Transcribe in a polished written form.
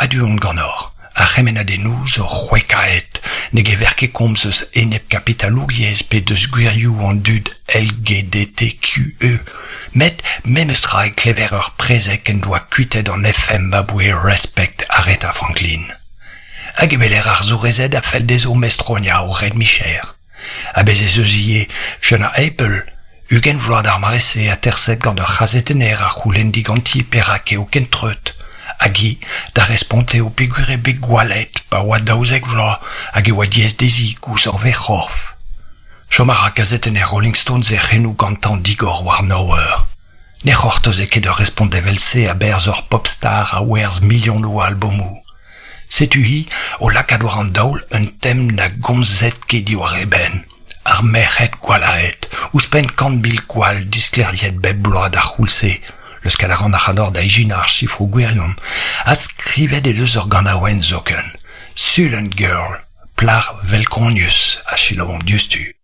A-du on ganeoc'h, ar c'hemennadennoù zo c'hwekaet, ne glever ket komz eus enepkapitalouriezh pe deus gwirioù an dud LGDTQE, met memestra e klever ur prezeg en doa kuitaet an FM aboe Respect Aretha Franklin. Hag e weler arzourezed a fell dezho mestroniañ o red-micher. Ha bez' ez eus ivez Fiona Apple, 20 vloaz d'ar mare-se aterset gant ur c'hazetenner a c'houlenn diganti perak eo ken treut. Hag hi da respont eo peogwir eo bet gwallet pa oa 12 vloaz hag e oa diaes dezhi gouzañv he c'horf. Chom a ra kazetenner Rolling Stones e c'henoù gantañ digor war nav eur. Ne c'hortoze ket ur respont evel-se a-berzh ur pop-star a werzh milionoù a albomoù. Setu-hi o lakaat war an daol un tem na gomzed ket diwar e benn, ar merc'hed gwallaet, ouzhpenn 100,000 gwall disklêriet bep bloaz d'ar c'houlz-se, leuskel a ran ac'hanoc'h da ijinañ ar sifroù gwirion, ha skrivet he deus ur ganaouenn zoken, Sullen Girl, plac'h velkonius, a selaouomp diouzhtu.